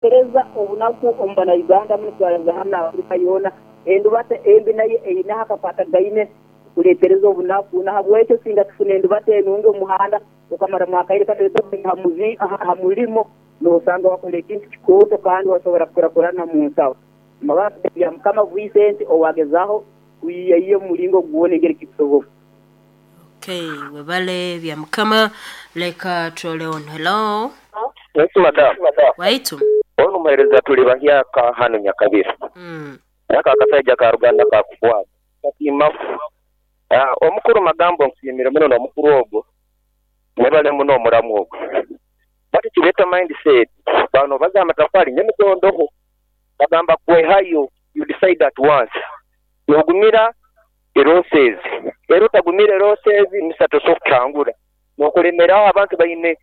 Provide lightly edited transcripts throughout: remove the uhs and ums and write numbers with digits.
Kureetereza obunaku omu bana Uganda munu twaraza hamu na Afrika yoona. Endubata embi nayo eineho akakwatagaine kureetereza obunaku. Nahabwekyo singa tufuna endubata enungi omu muhanda okamaramu akaire katoito aha murimo nosanga wakora ekintu kikooto kandi wasobora kukurakurana omu nsaho. Bya Mukama Vincent owagezaho kwiyayiya omu muringo gwona engeri kikusoboka. Okay, webale bya Mukama. Leka turole ono. Hello. Yes, madam. Waitu. Ono omuheereza tuli bahyaka hanu Nyakabira. Aka akasaija ka Ruganda kakukwata kasiimaku. Omukuru Magambo nkusiimire muno n'omukuru ogwo mwebale muno omuramu ogwo. But kireeta mindset bano baza amatafari nyemitondoho bagamba kwehayo you decide at once nogumira erosses era otagumira erosses misa tosobola kutangura nokulemeraho abantu baine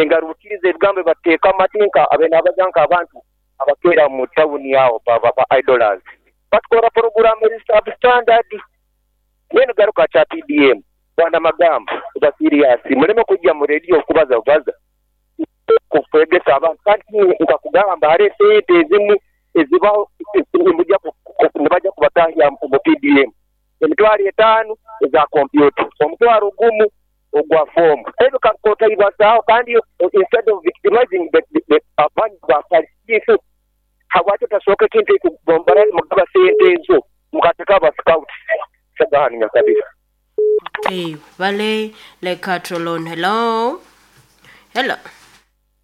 engarukiriza ebigambo ebibateekamu ati nka abe nabaza nk'abantu abakeera mu tawuni aho ba idlers batukora puroguramu eri substandard. Mbwenu garuka kya PDM bwana Magambo ba serious muleme kujja mu radio kubaza bubaza kwegesa abantu kandi nkakugamba hariho esente ezimu ezibaho nibaja kubatahya mu PDM emitwaro 5 eza kompyuta, omutwaro gumu ogwa fomu ebyo kakotaibazaho kandi instead of victimizing the abantu ba parish habwaki otasooka ekintu ekugombora mugaba sente ezo mukateka aba scouts sagahani Nyakabira. Okay, wale leka turole ono. Hello. Hello.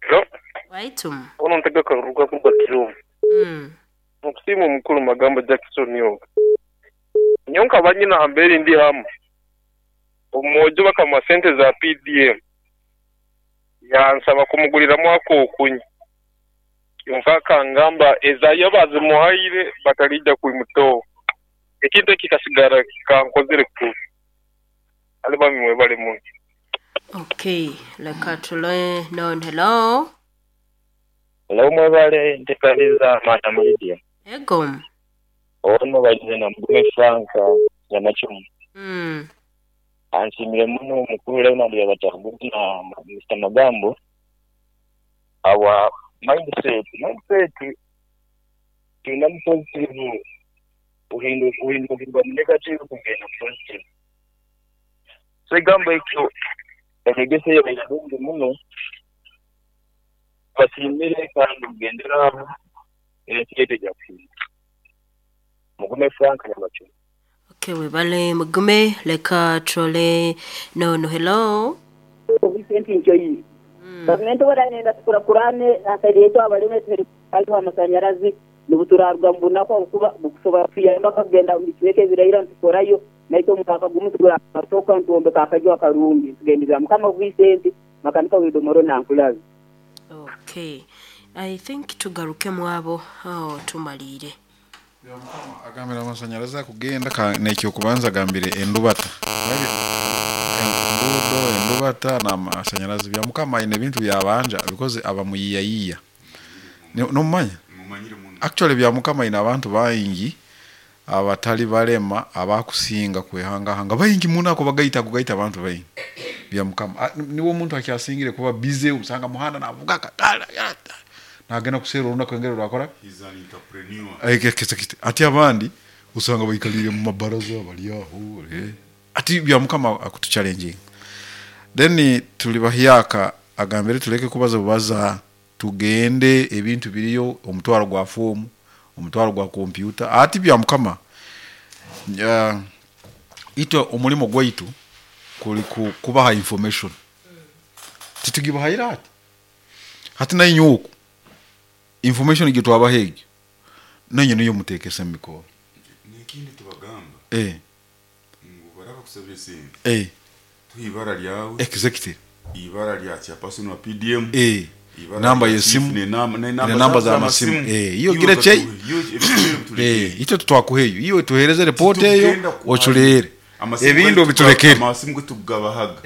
Hello. Waitu. Ono ntega karuga kuruga Kiruvu. Nkusiima omukuru Magambo Jackson ogu. Nyowe nkaba nyine aha mbeera ndi hamwe. Omwojo bakamuha sente za PDM. Yansaba kumuguriramu akokunywa. Kyonka akangamba ezayo bazimuhaire batarija kwimutoho. Ekintu eki kikasigara kankozire kubi. Ali bami mwebale muno. Okay, leka turole non. Hello. Hello mwebale ntekaniza Madam Lydia. Ego. Ono bagize na Mugume Frank Nyamachumu. Ansimire muno omukuru Leonard Yabatanguzi na Mr. Magambo. Our mindset tulina mu positive uhinduka mu negative kugenda mu positive. So egambo ekyo enyegesa eyo irungi muno basimire kandi mugendera aho ensi yaitu ejja kuhinduka. Mugume Frank Nyamachumu. Okay, webale Mugume. Leka turole nono. Hello. Vincent Nchoyi. Gavumenti wera tukurakurane asaidi abaleme hariho amasanyarazi nibuturarwa mu bunaku kuba bukusobola kuyamba kugenda mitweke ebirayira ntukorayo naito omwaka gumu tugura atoka ntuwombeka akajwa akarungi tugendera Mukama Vincent makanika widomoro nankulabi. Okay, I think tugaruke mwabo tumalire. Agambira amasanyarazi akugenda nekyo kubanza agambire endubata. Enguudo, endubata n'amasanyarazi bya Mukama aine ebintu byabanja because abamuyiyayiya. Nomumanya? Actually bya Mukama aine abantu baingi abatali balema abakusinga kwehangahanga baingi muno ako bagaita kugaita abantu baingi bya Mukama. Niwo omuntu akyasingire kuba busy usanga muhanda navuga katala nagenda kusera olunaku engeri lwakora. He's an entrepreneur. Ati abandi usanga baikalire mu mabaraza bali aho ati bya Mukama akutuchallenging. Then tuli bahyaka agambire tuleke kubaza bubaza tugende ebintu biriyo omutwaro gwa fomu omutwaro gwa kompyuta ati bya Mukama ito omulimo gwaitu kuli kubaha information titugibahaira ati hati nainyuku information gitwabahege nanyo niyo mutekese mikoro nekindi tubagamba ngo baraba kusabira sente ibara lyawe executive ibara lya chairperson wa PDM namba yesimu namba za masimu iyo gira che icyo tutwakuheyo iyo tuhereze report eyo ochulere ebindu bitulekere amasimu gutugabahaga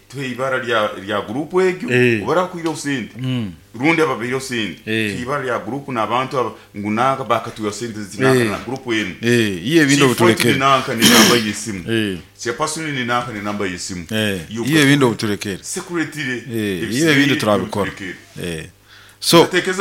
tuhe ibara lya group egyo obara kuira usente rundi ababiro sente ibara lya group n'abantu ngunaka bakatuya sente zinaka na group yenu iye ebindu bitulekere nanka ni namba yesimu chairperson ni nanka ni namba yesimu iye ebindu bitulekere security iye ebindu turabikora So Tekereza.